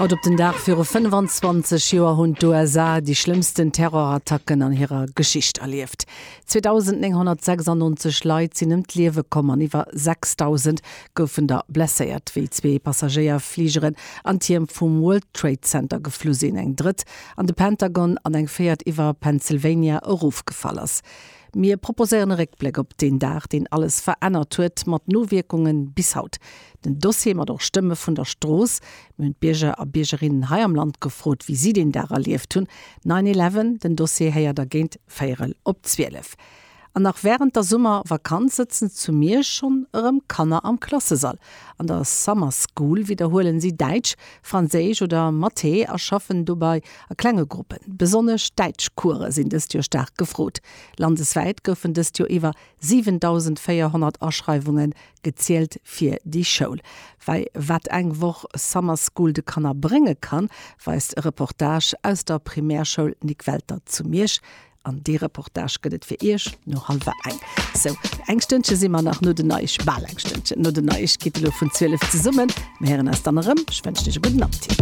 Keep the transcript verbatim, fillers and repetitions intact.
Haut op den Dag viru fënnefanzwanzeg Joer hunn d'USA déi schlëmmsten Terrorattacken an hirer Geschicht erlieft. zweedausendnénghonnertsechsannonzeg Leit sinn ëm d'Liewe komm an iwwer sechsdausend goufen der blesséiert, wéi zwee Passagéierfligeren an d'Tierm vum World Trade Center geflu sinn, eng drëtt an de Pentagon an eng véiert iwwer Pennsylvania erofgefall ass. Mir proposéieren e Réckbléck op deen Dag, deen alles verännert huet, mat Nowierkunge bis haut. Den Dossier mat och Stëmme vun der Strooss. Mir hunn d'Bierger a Biergerinnen hei am Land gefrot, wéi si deen Dag erlieft hunn. Nine Eleven, den Dossier héiert der géint véierel op zwielef. An nach wärend der Summervakanz sëtzen zu Miersch schonn erëm Kanner am Klassesall. An der Summer School widderhuelen si Däitsch, Franséisch oder Mathé a schaffen dobäi a klenge Gruppen. Besonnesch Däitschcourse sinn dëst Joer staark gefrot. Landeswäit goufen dëst Joer iwwer siwendausendvéierhonnert Aschreiwunge gezielt fir déi Schoul. Wei wat eng Woch Summer School de Kanner brénge kann, weist e Reportage aus der Primärschoul Nic Welter zu Miersch. An dee Reportage gëtt et fir Iech no hallwer eng. Sou, eng Stënnche si mer nach no den Neieg, bal eng Stënnchen no den Neiegkeete lo vun zwielef zesummen. Mir héieren eis dann erëm. Ech wënschen Iech e gudden Appetit.